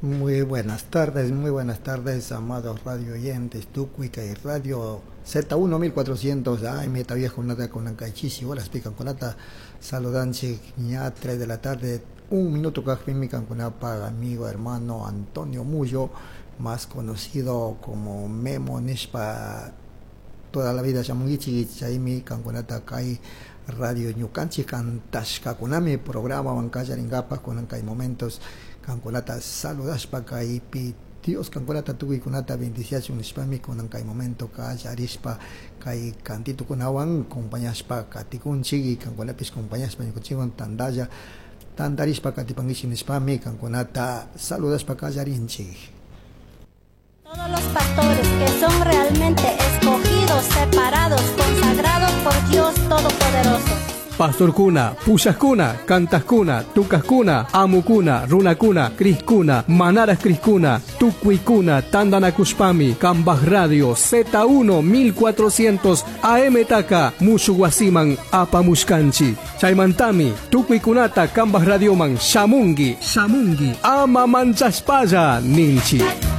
Muy buenas tardes, muy buenas tardes, amados radio oyentes, Tucuica y Radio Z1 1400, ay, meta viejo, nada con la horas pican con nata, saludanche, ya 3 de la tarde, un minuto con amigo hermano Antonio Mullo, más conocido como Memo Nishpa, toda la vida shamunguichi, chaymi kankunata kay Radio Ñukanchik kantashkakunami programa wankallaringapaj kunan kay momentos kankunata saludashpa kaypi Dios kankunata tukuykunata bendiciachun nishpami kunan kay momento kallarishpa kay kantitukunawan compañashpa katikunchik y kankunapish compañashpa ñukanchikwan tantalla tantarishpa katipankichik nishpami kankunata saludashpa kallarinchik. Todos los pastores que son realmente escogidos, separados, consagrados por Dios Todopoderoso. Pastorkuna, pushajkuna, kantajkuna, tukajkuna, amukuna, runakuna, criskuna, manaras criskuna, tukuykuna, tandanakushpami, Kambaj Radio Z1 1400 AM taka, mushuwasiman apamushkanchi. Chaymantami, tukuykunata Kambaj Radioman shamungi, shamungi, ama manchashpalla ninchi.